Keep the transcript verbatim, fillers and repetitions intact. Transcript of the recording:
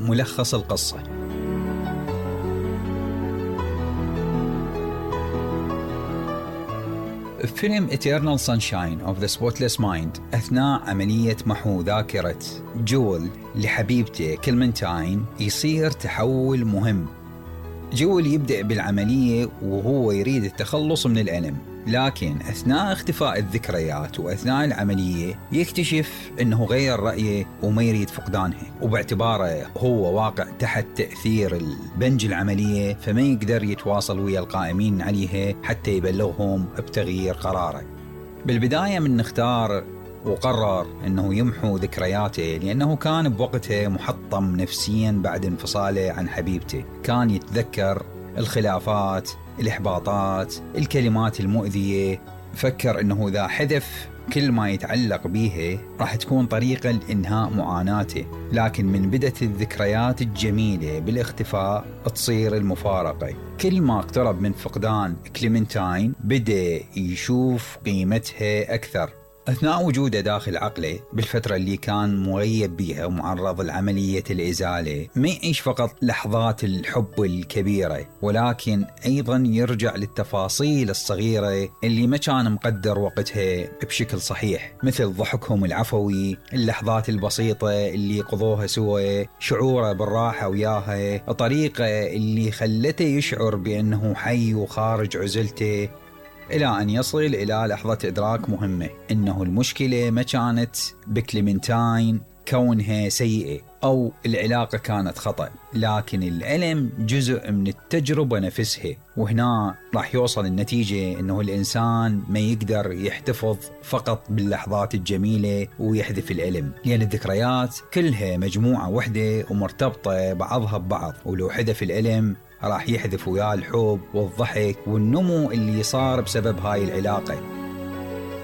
ملخص القصة. فيلم Eternal Sunshine of the Spotless Mind أثناء عملية محو ذاكرة جول لحبيبته كلمنتاين يصير تحول مهم. جول يبدأ بالعملية وهو يريد التخلص من الألم، لكن أثناء اختفاء الذكريات وأثناء العملية يكتشف أنه غير رأيه وما يريد فقدانها، وباعتباره هو واقع تحت تأثير البنج العملية فما يقدر يتواصل ويا القائمين عليها حتى يبلغهم بتغيير قراره. بالبداية من نختار وقرر أنه يمحو ذكرياته لأنه كان بوقتها محطم نفسيا بعد انفصاله عن حبيبته. كان يتذكر الخلافات، الإحباطات، الكلمات المؤذية. فكر أنه إذا حذف كل ما يتعلق بيها راح تكون طريقة لإنهاء معاناته، لكن من بدت الذكريات الجميلة بالاختفاء تصير المفارقة. كل ما اقترب من فقدان كليمنتاين بدأ يشوف قيمتها أكثر. أثناء وجوده داخل عقله بالفترة اللي كان مغيب بيها ومعرض لعملية الإزالة، ما يعيش فقط لحظات الحب الكبيرة، ولكن أيضا يرجع للتفاصيل الصغيرة اللي ما كان مقدر وقتها بشكل صحيح، مثل ضحكهم العفوي، اللحظات البسيطة اللي قضوها سوا، شعوره بالراحة وياها، الطريقة اللي خلته يشعر بأنه حي وخارج عزلته، إلى أن يصل إلى لحظة إدراك مهمة إنه المشكلة ما كانت بكليمنتاين كونها سيئة أو العلاقة كانت خطأ، لكن الألم جزء من التجربة نفسها. وهنا راح يوصل النتيجة إنه الإنسان ما يقدر يحتفظ فقط باللحظات الجميلة ويحذف الألم، لأن الذكريات كلها مجموعة وحدة ومرتبطة بعضها ببعض، ولو حذف الألم راح يحذف وياه الحب والضحك والنمو اللي صار بسبب هاي العلاقة.